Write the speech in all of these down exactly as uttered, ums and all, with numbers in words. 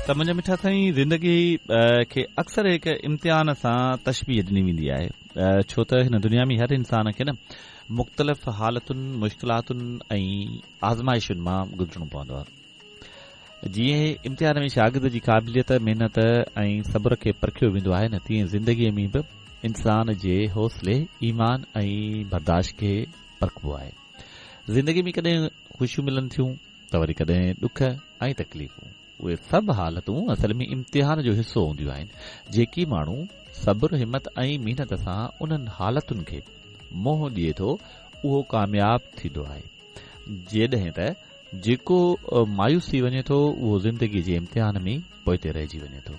ته منهنجا مٺا سائين، زندگي کي اڪثر هڪ امتحان سان تشبيهه ڏني ويندي آهي، ڇو ته هن دنيا ۾ هر انسان کي نه مختلف حالتن، مشڪلاتن ۽ آزمائشن مان گذرڻو پوندو آهي. جيئن امتحان ۾ شاگرد جي قابليت، محنت ۽ صبر کي پرکيو ويندو آهي نه، تيئن زندگيء ۾ به انسان جي حوصلي، ايمان ۽ برداشت کي پرکبو آهي. زندگي ۾ ڪڏهن خوشيون ملن ٿيون ته وري ڪڏهن ڏک ۽ تڪليفون. اهي سڀ حالتون اصل ۾ امتحان جو حصو هونديون آهن. جيڪي ماڻهو صبر، همت ۽ محنت سان انهن حالتن کي منهن ڏئي ٿو، اهو ڪامياب ٿيندو آهي، جڏهن ته جيڪو مايوس ٿي وڃي ٿو، اهو زندگي جي امتحان ۾ پوئتي رهجي وڃي ٿو.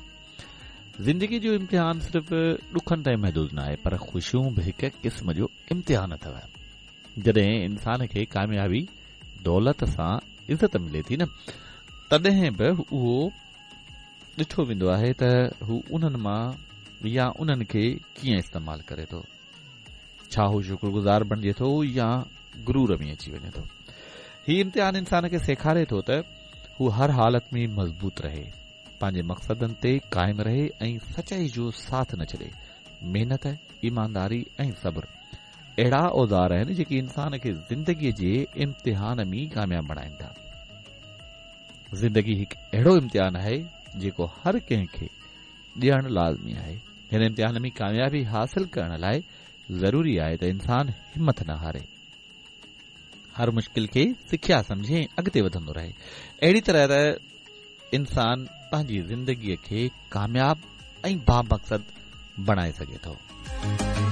زندگي جو امتحان صرف ڏکن تائين محدود ناهي، پر خوشيون به هڪ قسم جو امتحان اٿو. جڏهن انسان کي ڪاميابي، دولت سان عزت ملي ٿي نه، تڏهن به اهو ڏٺو ويندو آهي ته هو انهن مان يا انهن کي ڪيئن استعمال ڪري ٿو. ڇا هو شڪرگذار بڻجي ٿو يا غرور ۾ اچي وڃي ٿو؟ هي امتحان انسان کي سيکاري ٿو ته هو هر حالت ۾ مضبوط رهي، پنهنجي مقصدن تي قائم رهي ۽ سچائي جو ساٿ نه ڇڏي. محنت، ايمانداري ۽ صبر اهڙا اوزار آهن جيڪي انسان کي زندگيء جي امتحان ۾ ڪامياب بڻائين ٿا. زندگي هڪ اهڙو امتحان آهي جيڪو هر ڪنهن کي ڏيڻ لازمي آهي. هن امتحان ۾ ڪاميابي حاصل ڪرڻ لاء ضروري آهي ته انسان همٿ نه هاري، هر مشڪل کي سکيا سمجهي ۽ اڳتي وڌندو رهي. اهڙي طرح ته انسان پنهنجي زندگيء کي ڪامياب ۽ بامقصد بڻائي سگهي ٿو.